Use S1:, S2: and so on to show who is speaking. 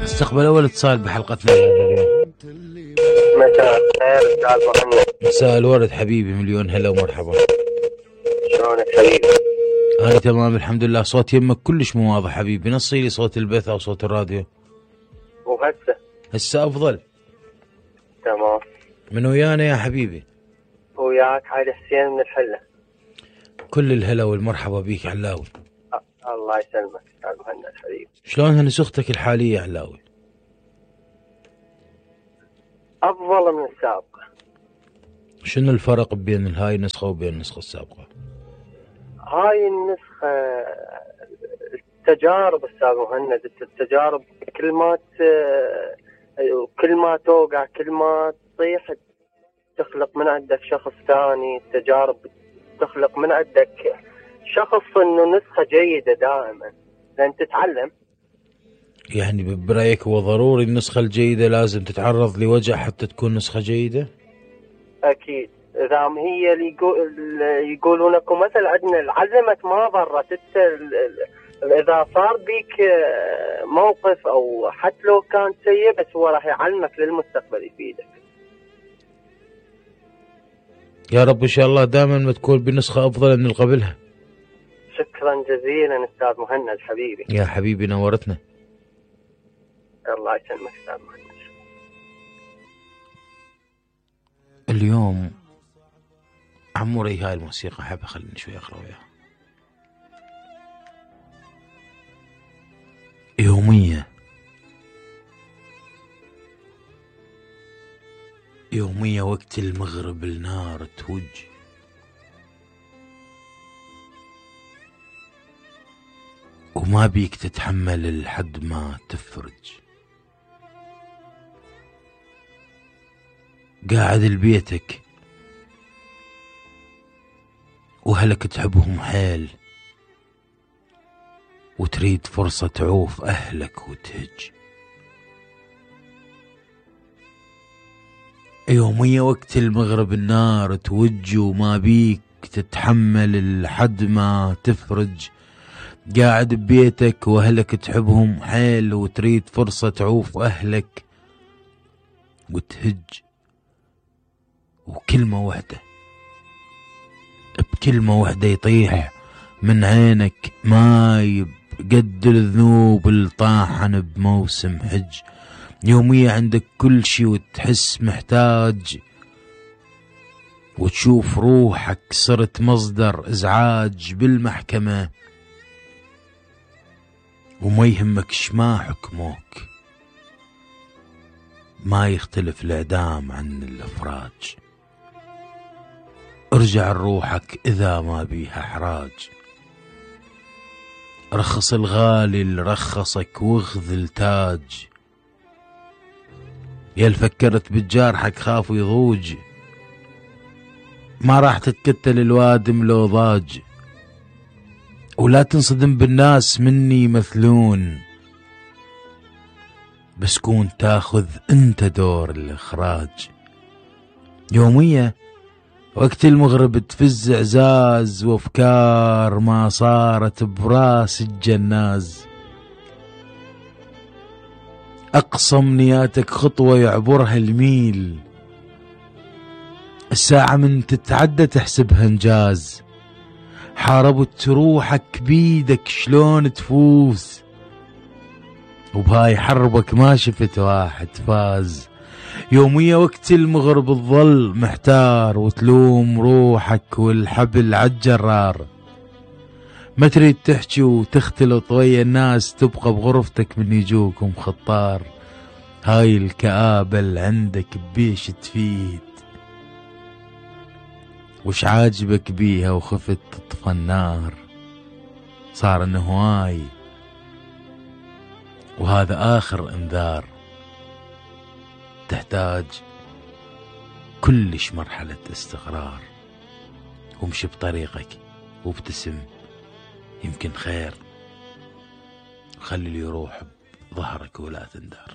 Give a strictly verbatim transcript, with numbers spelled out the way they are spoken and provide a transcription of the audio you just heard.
S1: استقبل أول اتصال بحلقتنا اليوم.
S2: مساء الخير استاذ مهند.
S1: مساء الورد حبيبي، مليون هلا ومرحبا.
S2: شلونك حبيبي؟
S1: أنا تمام الحمد لله. صوت يمك كلش مو واضح حبيبي، نصي لي صوت البث أو صوت الراديو.
S2: وهسه؟
S1: هسه أفضل.
S2: تمام.
S1: من ويانا يا حبيبي؟
S2: وياك علي حسين من الحلة.
S1: كل الهلا والمرحبا بيك علاوي.
S2: أه الله يسلمك استاذ مهند حبيبي.
S1: شلونها نسختك الحالية يا علاوي؟
S2: أفضل من السابقة.
S1: شنو الفرق بين هاي النسخة وبين النسخة السابقة؟
S2: هاي النسخة التجارب استاذ مهند، التجارب كل ما كل ما توقع كل ما تطيح تخلق من عندك شخص ثاني. التجارب تخلق من عندك شخص انه نسخة جيدة دائما لان تتعلم.
S1: يعني برأيك هو ضروري النسخة الجيدة لازم تتعرض لوجع حتى تكون نسخة جيدة؟
S2: اكيد. اذا هي اللي يقولون اكو مثل عندنا العزمة ما ضرت. اذا صار بيك موقف او حتى لو كان سيء بس هو راح يعلمك للمستقبل يفيدك.
S1: يا رب ان شاء الله دائما ما تكون بنسخة افضل من اللي قبلها.
S2: شكرا جزيلا استاذ مهند حبيبي.
S1: يا حبيبي نورتنا.
S2: الله يسلمك استاذ مهند.
S1: اليوم عموري هاي الموسيقى حابة خليني شوي اقرا وياها. يومية يومية وقت المغرب النار توج، وما بيك تتحمل لحد ما تفرج. قاعد لبيتك وهلك تحبهم حيل وتريد فرصة تعوف أهلك وتهج. يومية وقت المغرب النار توج وما بيك تتحمل لحد ما تفرج. قاعد ببيتك وأهلك تحبهم حيل وتريد فرصة تعوف أهلك وتهج. وكلمة واحدة بكلمة واحدة يطيح من عينك ماي قد الذنوب اللي طاحن بموسم حج. يومية عندك كل شي وتحس محتاج، وتشوف روحك صرت مصدر ازعاج بالمحكمة، وما يهمك شما حكموك. ما يختلف الاعدام عن الافراج. ارجع لروحك اذا ما بيها احراج. رخص الغالي اللي رخصك واخذ التاج. يا فكرت بجارحك خاف يضوج، ما راح تتكتل الوادم لو ضاج. ولا تنصدم بالناس مني مثلون، بس كون تاخذ انت دور الاخراج. يومية وقت المغرب تفز اعزاز وافكار ما صارت براس الجناز. اقصى امنياتك خطوة يعبرها الميل، الساعة من تتعدى تحسبها انجاز. حاربت روحك بيدك شلون تفوز، وبهاي حربك ما شفت واحد فاز. يومية وقت المغرب تظل محتار وتلوم روحك والحبل عالجرار. ما تريد تحكي وتختلط ويا الناس، تبقى بغرفتك من يجوك مخطار. هاي الكآبة اللي عندك بيش تفيد، وش عاجبك بيها وخفت تطفى النار. صار انه هواي وهذا آخر انذار. تحتاج كلش مرحلة استقرار، وامشي بطريقك وابتسم يمكن خير، وخلي اللي يروح بظهرك ولا تندار.